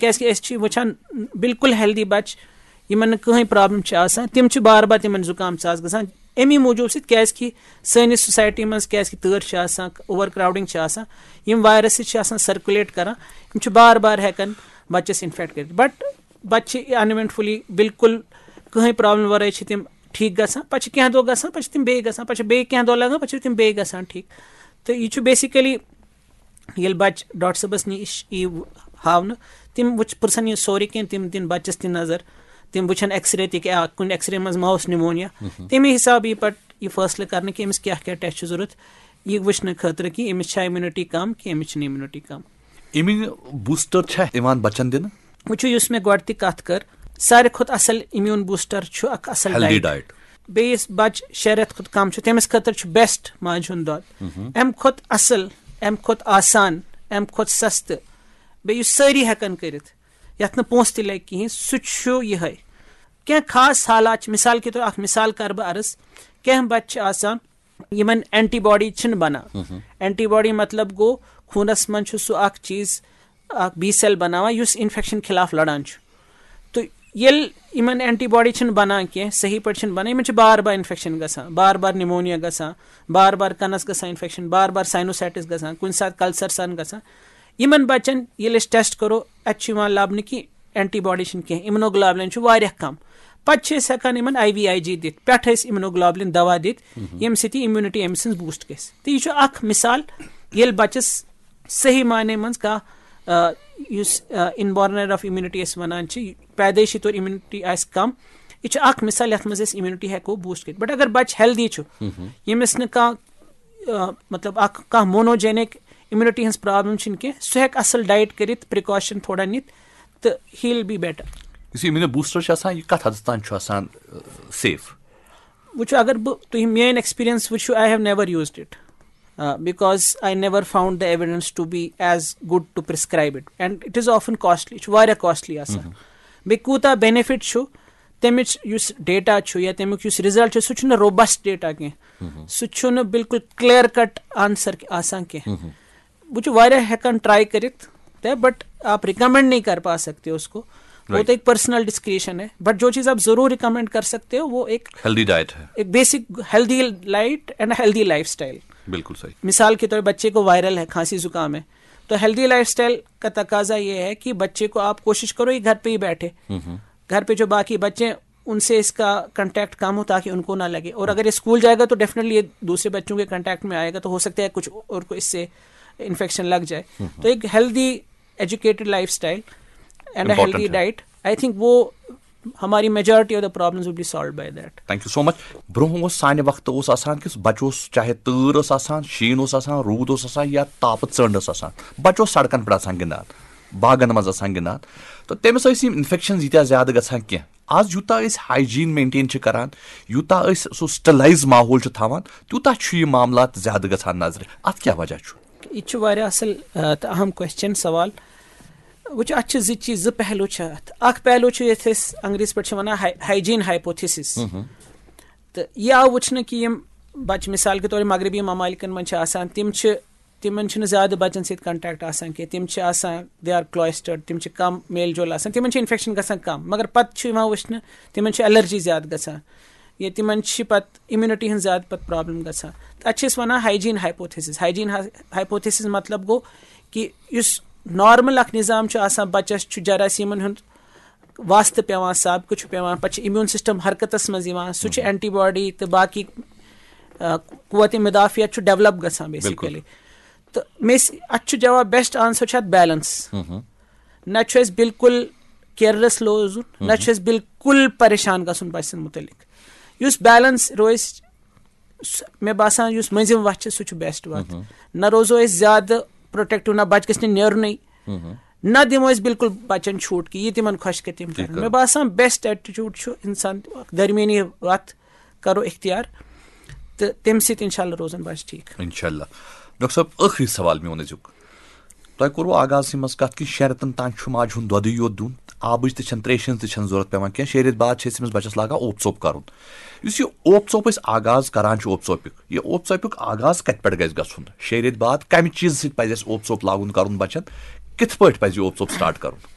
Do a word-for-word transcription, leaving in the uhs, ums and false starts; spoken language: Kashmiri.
کیازِ کہِ أسۍ چھِ وٕچھان بالکل ہیلدی بَچہٕ، یِمن نہٕ کٕہٕنۍ پرابلم چھِ آسان، تِم چھِ بار بار تِمن زُکام ژاس گژھان۔ اَمی موٗجوٗب سۭتۍ، کیازِ کہِ سٲنِس سوسایٹی منٛز کیازِ کہِ تۭر چھِ آسان، اوور کراؤڈنگ چھِ آسان، یِم وایرسز چھِ آسان سرکولیٹ کران، یِم چھِ بار بار ہٮ۪کان بَچَس انفیکٹ کٔرِتھ۔ بٹ بَچہٕ چھِ انوینٹفلی بالکل کٕہٕنۍ پرابلم ورٲے چھِ تِم ٹھیٖک گژھان۔ پَتہٕ چھِ کینٛہہ دۄہ گژھان، پَتہٕ چھِ تِم بیٚیہِ گژھان، پَتہٕ چھِ بیٚیہِ کینٛہہ دۄہ لگان، پَتہٕ چھِ تِم بیٚیہِ گژھان ٹھیٖک۔ تہٕ یہِ چھُ بیسیکلی ییٚلہِ بَچہٕ ڈاکٹر صٲبَس نِش یی ہاونہٕ، تِم وٕچھ، پرٛژھن یہِ سورُے کینٛہہ، تِم دِن بَچَس تہِ نظر، تِم وٕچھن ایکس رے تہِ کہِ آ، کُنہِ ایکس رے منٛز ما اوس نمونیا۔ تَمی حسابہٕ یی پَتہٕ یہِ فٲصلہٕ کرنہٕ کہِ أمِس کیٛاہ کیٛاہ ٹیسٹ چھُ ضروٗرت، یہِ وٕچھنہٕ خٲطرٕ کہِ أمِس چھا امیونٹی کم کہِ أمِس چھِنہٕ امیونٹی کم۔ امیون بوسٹر چھا یِوان بَچَن دِنہٕ؟ وٕچھِو، یُس مےٚ گۄڈٕ تہِ کَتھ کٔر، ساروی کھۄتہٕ اَصٕل امیون بوسٹر چھُ اَکھ اَصٕل ہیلدی ڈائٹ۔ ڈائٹ۔ بیٚیِس بَچہٕ شےٚ رٮ۪تھ کھۄتہٕ کم چھُ، تٔمِس خٲطرٕ چھُ بیسٹ ماجہِ ہُنٛد دۄد۔ اَمہِ کھۄتہٕ اَصٕل، اَمہِ کھۄتہٕ آسان، اَمہِ کھۄتہٕ سَستہٕ، بیٚیہِ یُس سٲری ہٮ۪کَن کٔرِتھ، یَتھ نہٕ پونٛسہٕ تہِ لَگہِ کِہیٖنۍ، سُہ چھُ یِہوٚے۔ کینٛہہ خاص حالات چھِ، مثال کے طور، اَکھ مثال کَرٕ بہٕ عرض، کینٛہہ بَچہٕ چھِ آسان، یِمَن اینٹی باڈی چھِنہٕ بَنان۔ اینٹی باڈی مطلب گوٚو، خوٗنَس منٛز چھُ سُہ اَکھ چیٖز، اَکھ بی سیل بَناوان، یُس انفیکشن خلاف لڑان چھُ۔ تہٕ ییٚلہِ یِمَن اینٹی باڈی چھِنہٕ بَنان کینٛہہ، صحیح پٲٹھۍ چھِنہٕ بَنان، یِمَن چھِ بار بار انفیکشن گژھان، بار بار نمونیا گژھان، بار بار کَنَس گژھان انفیکشن، بار بار سائنوسائٹس گژھان، کُنہِ ساتہٕ کلسر سان گژھان۔ یِمَن بَچَن ییٚلہِ أسۍ ٹیسٹ کَرو، اَتہِ چھُ یِوان لَبنہٕ کہِ اینٹی باڈی چھِنہٕ کینٛہہ، اِمنوگلوبلن چھُ واریاہ کم۔ پَتہٕ چھِ أسۍ ہٮ۪کان یِمَن آئی وی آئی جی دِتھ، پٮ۪ٹھٕ أسۍ اِمنوگلوبلن دوا دِتھ، ییٚمہِ سۭتۍ یہِ امیونٹی أمۍ سٕنٛز بوسٹ گژھِ۔ تہٕ یہِ چھُ اَکھ مثال، ییٚلہِ بَچَس صحیح معنی منٛز کانٛہہ، آ، یُس، آ، انبارنر آف امیونٹی أسۍ وَنان چھِ، پیدٲیشی طور امیونٹی آسہِ کم، یہِ چھُ اَکھ مثال یَتھ منٛز أسۍ امیونٹی ہٮ۪کو بوسٹ کٔرِتھ۔ بٹ اگر بَچہٕ ہیلدی چھُ، ییٚمِس نہٕ کانٛہہ، آ، مطلب، اَکھ کانٛہہ مونوجینک امیونٹی ہٕنٛز پرابلم چھِنہٕ کینٛہہ، سُہ ہٮ۪کہِ اَصٕل ڈایٹ کٔرِتھ، پریکاشن تھوڑا نِتھ، تہٕ he will be better۔ یُس یہِ امیون بوسٹر چھُ آسان، یہِ کَتھ حدس تام چھُ آسان سیف؟ وٕچھِو، اگر بہٕ، تُہۍ میٲنۍ ایکسپیرینس وٕچھِو، I have never used it, because I never found the evidence to be as good to prescribe it, and it is often costly. یہِ چھُ واریاہ کاسٹلی آسان۔ بیٚیہِ کوٗتاہ بینیفٹ چھُ، تَمِچ یُس ڈیٹا چھُ یا تَمیُک یُس رِزلٹ چھُ، سُہ چھُنہٕ روبسٹ ڈیٹا کینٛہہ، سُہ چھُنہٕ بالکل کلیئر کٹ آنسر آسان کینٛہہ۔ وٕچھِو، واریاہ ہٮ۪کان ٹرائی کٔرِتھ تہِ، بٹ آپ ریکمینڈ نہیں کر پا سکتے اس کو، وہ تو ایک پرسنل ڈسکریشن ہے۔ بٹ جو چیز آپ ضرور ریکمینڈ کر سکتے ہو، وہ ایک ہیلدی ڈائٹ ہے۔ ایک basic healthy diet and healthy life style. بالکل صحیح۔ مثال کے طور پہ بچے کو وائرل ہے، کھانسی زکام ہے، تو ہیلدی لائف اسٹائل کا تقاضا یہ ہے کہ بچے کو آپ کوشش کرو، یہ گھر پہ ہی بیٹھے۔ گھر پہ جو باقی بچے، ان سے اس کا کانٹیکٹ کم ہو، تاکہ ان کو نہ لگے۔ اور اگر یہ اسکول جائے گا تو ڈیفینیٹلی یہ دوسرے بچوں کے کانٹیکٹ میں آئے گا، تو ہو سکتا ہے کچھ اور کو اس سے انفیکشن لگ جائے۔ تو ایک healthy educated lifestyle and a healthy diet, I think وہ ہماری majority of the problems would be solved by that. Thank you so much. برونٛہہ اوس، سانہِ وقتہٕ اوس آسان کہِ بچہٕ اوس، چاہے تۭر ٲس آسان، شیٖن اوس آسان، روٗد اوس آسان یا تاپہٕ ژٔنٛڈ ٲس آسان، بچہٕ اوس سڑکن پٮ۪ٹھ آسان گِنٛدان، باغن منٛز آسان گِنٛدان۔ تہٕ تٔمِس ٲسۍ یِم انفیکشنز ییٖتیٛاہ زیادٕ گژھان کینٛہہ۔ آز یوٗتاہ أسۍ ہایجیٖن مینٹین چھِ کران، یوٗتاہ أسۍ سُہ سٹرلایز ماحول چھِ تھاوان، تیوٗتاہ چھُ یہِ معاملات زیادٕ گژھان نظرِ۔ اتھ کیٛاہ وجہ چھُ؟ یہِ تہِ چھُ واریاہ اصل، آ، تہٕ اہم کوسچن، سوال۔ وٕچھ، اتھ چھِ زٕ چیٖز، زٕ پہلو چھِ اتھ۔ اکھ پہلو چھُ یتھ أسۍ انگریزی پٲٹھۍ چھِ ونان ہاے-، ہایجیٖن ہایپوتھیسس۔ تہٕ یہِ آو وٕچھنہٕ کہِ یِم بچہٕ، مثال کے طور، مغربی ممالکن منٛز چھِ آسان، تِم چھِ، تِمن چھُنہٕ زیادٕ بچن سۭتۍ کنٹیکٹ آسان کینٛہہ، تِم چھِ آسان، they are cloistered، تِم چھِ کم میل جول آسان، تِمن چھِ انفیکشن گژھان کم، مگر پتہٕ چھُ یِوان وٕچھنہٕ تِمن چھِ الرجی زیادٕ گژھان، یا تِمن چھِ پتہٕ امیونٹی ہٕنٛز زیادٕ پتہٕ پرابلم گژھان۔ تتھ چھِ أسۍ ونان ہایجیٖن ہایپوتھیسس۔ ہایجیٖن ہایپوتھیسس مطلب گوٚو کہِ یُس نارمل اکھ نظام چھُ آسان، بچس چھُ جراثیمن ہُنٛد واسطہٕ پٮ۪وان، سابقہٕ چھُ پٮ۪وان، پتہٕ چھُ امیون سسٹم حرکتس منٛز یِوان، سُہ چھُ اینٹی باڈی تہٕ باقی، آ، قوت مدافعت چھُ ڈیولپ گژھان بیسیکلی۔ تہٕ مےٚ س-، اتھ چھُ جواب، بیسٹ آنسر چھُ اتھ بیلنس۔ نہ چھُ اَسہِ بالکل کیئرلیس روزُن، نہ چھُ اَسہِ بالکل پریشان گژھُن بچہٕ سٕنٛدِ مُتعلق۔ یُس بیلنس روزِ، س-، مےٚ باسان یُس مٔنٛزِم وَتھ چھِ، سُہ چھُ بیسٹ وَتھ۔ نہ روزو أسۍ زیادٕ پروٹیکٹو، نہ بچہٕ گژھِ نہٕ نیرُنٕے، نہ دِمو أسۍ بالکل بچن چھوٹ کہِ یہِ تِمن خۄش کرِ تِم کرن۔ مےٚ باسان بیسٹ ایٹیچیوڈ چھُ انسان اکھ درمیٲنی وَتھ کرو اختیار، تہٕ تَمہِ سۭتۍ انشاءاللہ روزن بچہٕ ٹھیٖک۔ انشاءاللہ۔ ڈاکٹر صٲب، ٲخری سوال میون أزیُک۔ تۄہہِ کوٚروٕ آغازسٕے منٛز کتھ کہِ شیٚن رٮ۪تن تام چھُ ماجہِ ہُنٛد دۄدٕے یوت دیُن، آبٕچ تہِ چھنہٕ، تریشہِ ہٕنٛز تہِ چھنہٕ ضروٗرت پٮ۪وان کینٛہہ۔ شیٚیہِ رٮ۪تۍ بعد چھِ أسۍ أمِس بچس لاگان اوپ ژوٚپ کرُن۔ یُس یہِ اوپ ژوٚپ أسۍ آغاز کران چھِ، اوپ ژوٚپیُک، یہِ اوپ ژوٚپیُک آغاز کتہِ پٮ۪ٹھ گژھِ گژھُن؟ شیٚیہِ رٮ۪تۍ بعد کمہِ چیٖزٕ سۭتۍ پزِ اَسہِ اوپ ژوٚپ لاگُن کرُن بچن؟ کِتھ پٲٹھۍ پزِ یہِ اوپ ژوٚپ سٹارٹ کرُن؟